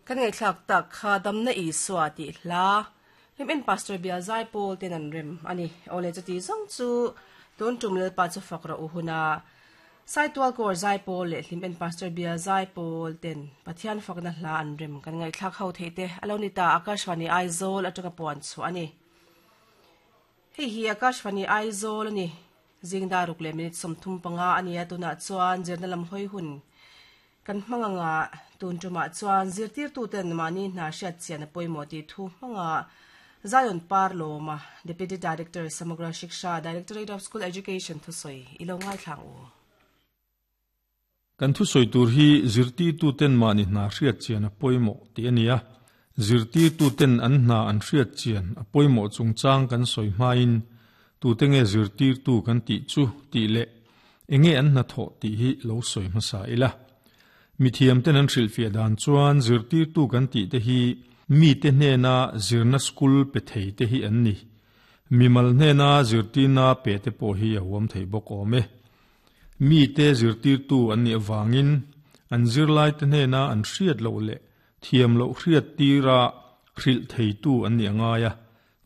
Kan ngaihthlak tak kha Damna Isua tih hla Hlim-in Pastor Bial Zaipawl ten an rem a ni. Awle chuti zawng chu tun tum Lalpa chu fak rawh u huna Saitual Kawr Zaipawl leh Hlim-in Pastor Bial Zaipawl ten Pathian fakna hla an rem kan ngaihthlak ho theih te a lo ni ta Akashvani Aizawl atanga puan chhuah a ni. Hei hi Akashvani Aizawl a ni. Zingdar ruk leh minute 35 a ni a, tunah chuan zirna lam hawi hun kan hmang anga tun tumah chuan zirtirtuten mahni hna hriat chian a pawimawh tih thu hmanga Zion Par Lawma, Deputy Director, Samagra Shiksha, Directorate of School Education thusawi i lo ngaithlang u. Kan thusawi tur hi zirtirtuten mahni hna hriat chian a pawimawh tih a ni a, zirtirtuten an hna an hriat chian a pawimawh chungchang kan sawi hmain tute nge zirtirtu kan tih chu tih leh enge an hnathawh tih hi lo sawi hmasa ila. Mithiamten an hrilhfiah dan chuan zirtirtu kan tih te hi mite hnena zirna school pe thei te hi an ni. Mimal hnena zirtirna pe te pawh hi a huam thei bawk awm e. Mite zirtirtu an nih avangin an zirlaite hnena an hriat loh leh thiam loh hriat tira hrilh theitu an nih a ngai a,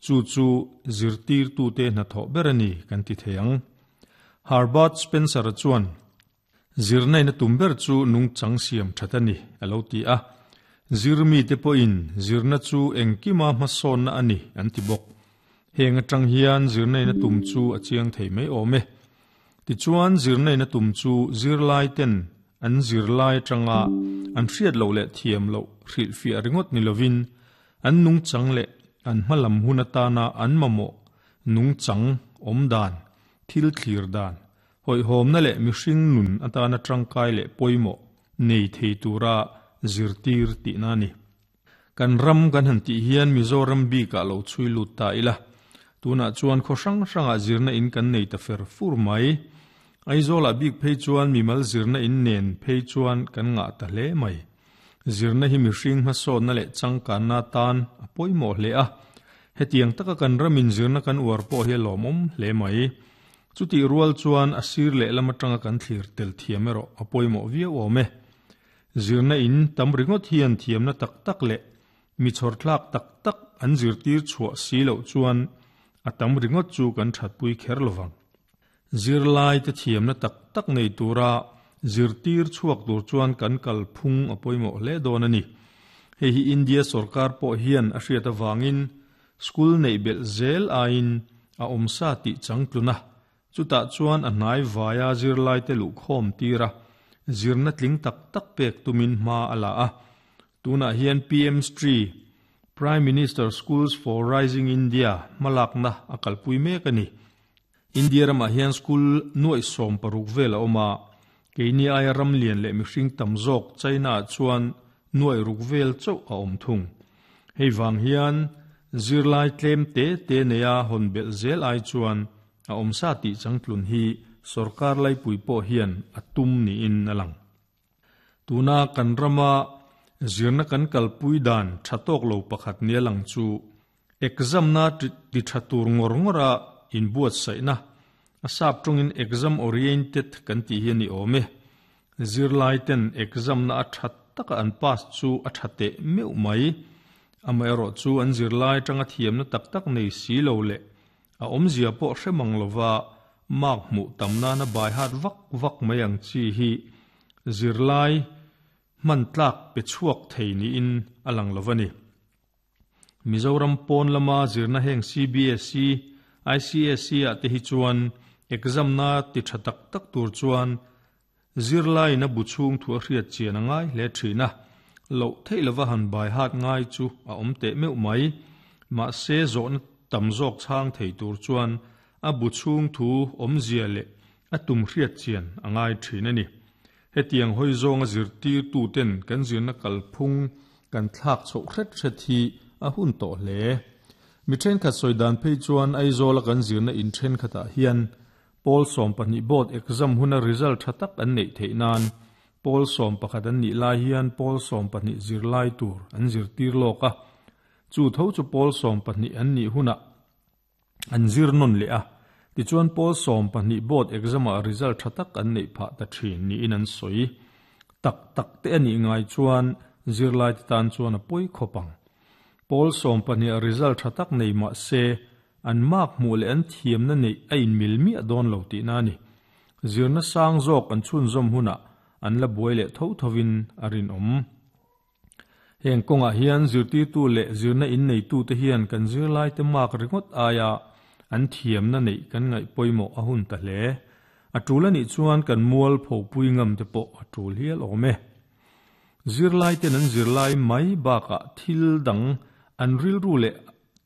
chu chu zirtirtute hnathawh ber a ni kan ti thei ang. Herbert Spencer-a chuan, Zirnaina tum ber chu nungchang siam that a ni, a lo ti a. Zirmite pawhin zirna chu engkima hmasawnna a ni an ti bawk. Heng atang hian zirnaina tum chu a chiang thei mai awm e. Tichuan zirnaina tum chu zirlaiten an zirlai atanga an hriat loh leh thiam loh hrilhfiah ringawt ni lovin an nungchang leh an hmalam hun atana an mamawh nungchang awm dan, thil thlir dan, hawihhawmna leh mihring nun atana tangkai leh pawimawh nei thei tura zirtir tihna a ni. Kan ram kan han tih hian Mizoram bikah lo chhui lut ta ila, tunah chuan khaw hrang hrangah zirna in kan nei ta fer fur mai. Aizawlah bik phei chuan mimal zirna in nen phei chuan kan ngah ta hle mai. Zirna hi mihring hmasawnna leh changkanna atan a pawimawh hle a, hetiang taka kan ramin zirna kan uar pawh hi a lawmawm hle mai. Chutih rual chuan a sir lehlam atanga kan thlir tel thiam erawh a pawimawh viau awm e. Zirna in tam ringawt hian thiamna tak tak leh mi chhawrthlak tak tak an zirtir chhuah si loh chuan a tam ringawt chu kan thatpui kher lovang. Zirlai te thiamna tak tak nei tura zirtir chhuak tur chuan kan kalphung a pawimawh hle dawn a ni. Hei hi India sorkar pawh hian a hriat avangin school neih belh zel aiin a awmsa tih changtlun a, Chutah chuan a hnai vaia zirlaite luhkhawm tir a, zirna tling tak tak pek tumin hma a la a. Tunah hian PM Shri, Prime Minister Schools for Rising India, hmalakna a kalpui mek a ni. India ramah hian school nuaih 16 vel a awm a, keini aia ram lian leh mihring tam zawk China-ah chuan nuaih ruk vel chauh a awm thung. Hei vang hian zirlai tlem te te neia hawn belh zel ai chuan a awmsa tih changtlun hi sorkar laipui pawh hian a tum niin a lang. Tuna kan rama zirna kan kalpui dan tha tawk lo pakhat nia lang chu exam na ti tha tur ngawr ngawra inbuatsaihna, a sap tawngin exam oriented kan tih hi a ni awm e. Zirlai ten exam na a tha taka an pass chu a tha teh meuh mai. Amaherawh chu an zirlai atanga thiamna tak tak nei si lo leh A awmzia pawh hre mang lova mark hmuh tam nana bai hat vak vak mai ang chi hi zirlai hman tlak pe chhuak thei niin a lang lo a ni. Mizoram pawn lama zirna heng CBSE, ICSE ah te hi chuan exam na ti tha tak tak tur chuan Zirlaiin a bu chhung thu a hriat chian a ngai hle thin a, loh theih lova han bai hat ngai chu a awm teh meuh mai. Mahse, zawhna tam zawk chhang thei tur chuan a bu chhung thu awmzia leh a tum hriat chian a ngai thin a ni. Hetiang hawi zawnga zirtirtuten kan zirna kalphung kan thlak chhoh hret hret hi a hun tawh hle. Mi thenkhat sawi dan phei chuan Aizawla kan zirna in thenkhatah hian Pawl 12 board exam huna result tha tak an neih theih nan pawl 11 an nih lai hian pawl 12 zirlai tur an zirtir lawk a, chu tho chu pawl 12 an nih hunah an zir nawn leh a, tichuan pawl 12 board exam ah result tha tak an neih phah ta thin niin an sawi. Tak tak te a nih ngai chuan zirlaite tan chuan a pawi khawp ang. Pawl sawmpahniha result tha tak nei mah se, an mark hmuh leh an thiamna neih a inmil miah dawn lo tihna a ni. Zirna sang zawk an chhunzawm hunah an la buai leh tho thovin a rinawm. Heng kawngah hian zirtirtu leh zirna inneitute hian kan zirlaite mark ringawt aia an thiamna neih kan ngaih pawimawh a hun ta hle. A tul anih chuan kan mual phopui ngam te pawh a tul hial awm e. Zirlaiten an zirlai mai bakah thil dang an rilru leh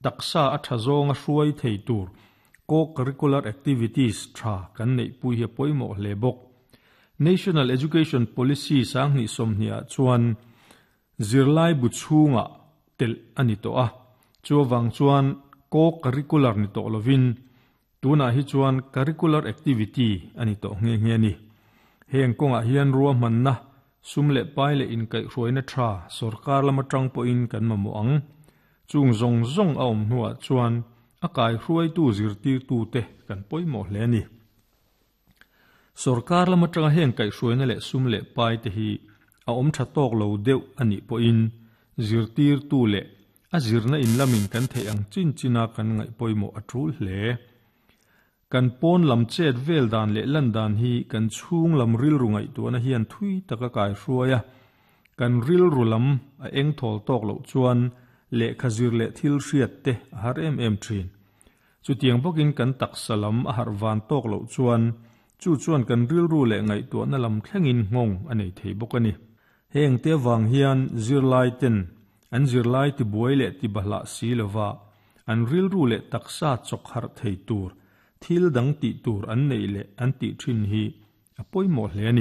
taksa a tha zawnga hruai thei tur co-curricular activities tha kan neihpui hi a pawimawh hle bawk. National Education Policy sanghnih sawmhnih ah chuan zirlai bu chhungah telh a ni tawh a, chu avang chuan co-curricular ni tawh lovin tunah hi chuan curricular activity a ni tawh nghe nghe a ni. Heng kawngah hian ruahmanna, sum leh pai leh inkaihhruaina tha sorkar lam atang pawhin kan mamawh ang. Chung zawng zawng a awm hnuah chuan a kaihruaitu zirtirtute kan pawimawh hle a ni. Sorkar lam atanga heng kaihhruaina leh sum leh pai te hi a awm tha tawk lo deuh a nih pawhin zirtirtu leh a zirna in lamin kan theih ang chin china kan ngaih pawimawh a tul hle. Kan pawn lam chet vel dan leh lan dan hi kan chhung lam rilru ngaihtuahna hian thui taka kaihruai a, kan rilru lam a eng thawl tawk loh chuan lehkha zir leh thil hriat te a har em em thin. Chutiang bawkin kan taksa lam a harh van tawk loh chuan chu chuan kan rilru leh ngaihtuahna lam thlengin nghawng a nei thei bawk a ni. Heng te avang hian zirlai ten an zirlai tibuai leh tibahlah si lova an rilru leh taksa chawk harh thei tur thil dang tih tur an neih leh an tih thin hi a pawimawh hle a ni.